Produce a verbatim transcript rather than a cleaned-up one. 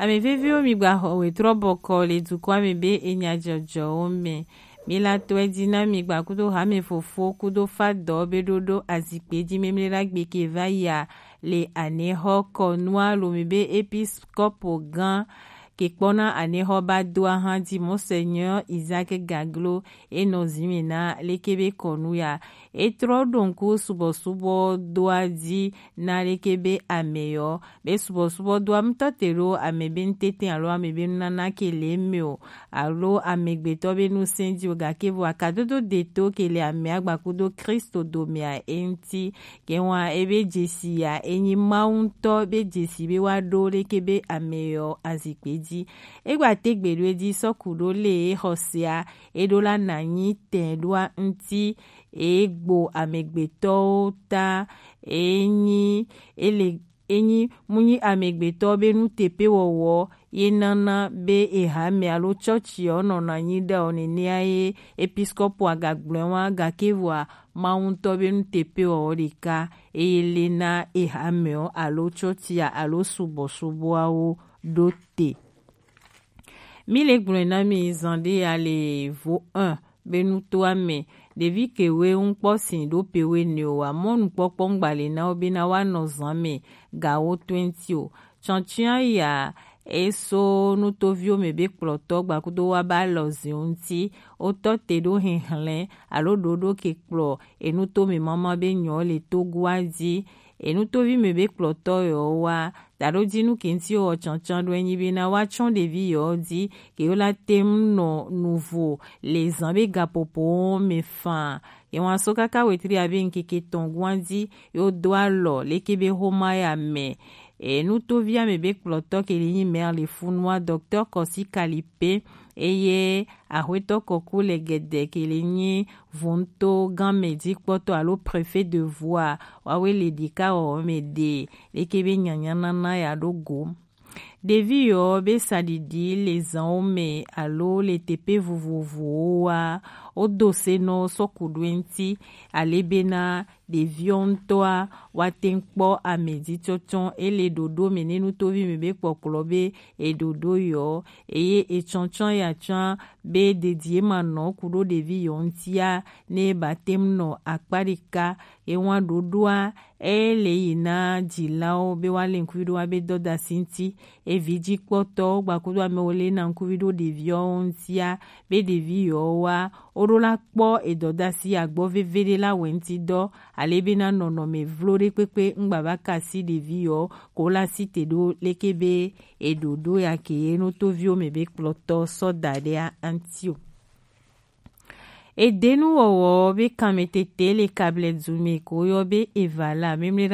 Ame veviwo, mi gba xɔ wetrɔ bɔkɔ le dukɔa me be enya jɔjɔwo me. Mi la tɔe ji na mi gba kudo hame fofo kudo fadɔ be ɖoɖo azikpe ji memle la gbe ke va ya le anexɔ kɔnua lo mi be episkopo gã ke kpɔna anexɔ ba do ahan ji Monseigneur Isaac Gaglo e nɔ zi me na leke be kɔnu ya. E trɔ ɖo ŋku subɔsubɔ doa ji na leke be ame yɔ be subɔsubɔ doa ŋutɔ te ɖo ame be ŋutete alo ame be nunana ke le eme o, alo amegbetɔ be nusẽ ji o, gake vɔ akadodo deto ke le ame agbakudo Kristo domea e ŋuti. Ke wa ebe dzesi ya enyi Mawu ŋutɔ be dzesi be wa ɖo leke be ame yɔ azikpe ji. Egba te gbe ɖo edzi sɔ ku ɖo le exɔsea eɖo la na nyi tɛ ɖoa ŋuti egbo amegbetɔwo ta enyi ele enyi munyi amegbetɔ be nuteƒewɔwɔ ye nana be eha me alo tsɔtsi ɔ nɔna nyi ɖe ɔ nenea ye episkopo agagblɔe wa, gake vɔa Mawu ŋutɔ be nuteƒewɔwɔ ɖeka eye le na eha me ɔ alo tsɔtsia alo subɔsubɔawo ɖo te. Mi le gblɔe na mi zan ɖe ya le vo un be nutoa me ɖevi kewe ŋkpɔ sin ɖo pewe ne o wa mɔ nukpɔkpɔ ŋgba le na wo be na wa nɔ zan me gawo twenty o. Tsɔntsɔa ya eso nutoviwo me be kplɔtɔ gbakudo wa ba lɔ zin ŋuti wotɔ te ɖo hihlɛn alo ɖoɖo ke kplɔ enuto me mama be nyɔ le togoa ji enutovi me be kplɔtɔ yɔ wa taɖo dinu ke ŋuti wɔ tsɔntsɔn ɖo enyi be na wa tsɔn ɖevi yɔ ji ke yo la tem nɔ nuvo le zan be gapopo me fan. Ye wa so kaka wetri abe ŋkeke tɔn gua ji yo do alɔ leke be homa ya me. E nutovi ame be kplɔtɔ ke li nyi maire le funua docteur Kɔsi Kalipe eye axwetɔ kɔku le gɛdɛ ke li nyi vonto gamɛ jikpɔtɔ alo préfet de voie wawe le ɖika wɔwɔ me ɖe leke be nyanyanana ya ɖo go. Ɖevi yɔ be saɖiɖi le zanwo me alo le teƒe vovovowo wa wodo se nɔ sɔku ɖo eŋti ale bena ɖeviɔ ŋutɔa woate ŋu kpɔ ame dzi tsɔtsɔ ele ɖoɖo me ne nutovi me be kpɔkplɔ be eɖoɖo yɔ eye etsɔtsɔ ya tsɔa be dedie ma nɔ ku ɖo ɖevi yɔ ŋutia ne ba te ŋu nɔ akpa ɖeka ewa ɖoɖoa ele yi na dzilawo be woale ŋkuvi ɖo wa be dɔdasi ŋuti evi dzi kpɔtɔwo gbakudo amewo le na ŋkuvi ɖo ɖeviawo ŋutia be ɖevi yɔ wa woɖo la kpɔ edɔdasi agbɔ veve ɖe la wɛ ŋuti dɔ ale be na nɔnɔme vlo ɖe kpekpe ŋgba va kasi ɖevi yɔ ko la si te ɖo leke be eɖoɖo ya ke ye nutoviwo me be kplɔtɔ sɔ da ɖe aŋti o. Edenuwɔwɔ be kanmetete le kablɛ du me ko yɔ be evala memle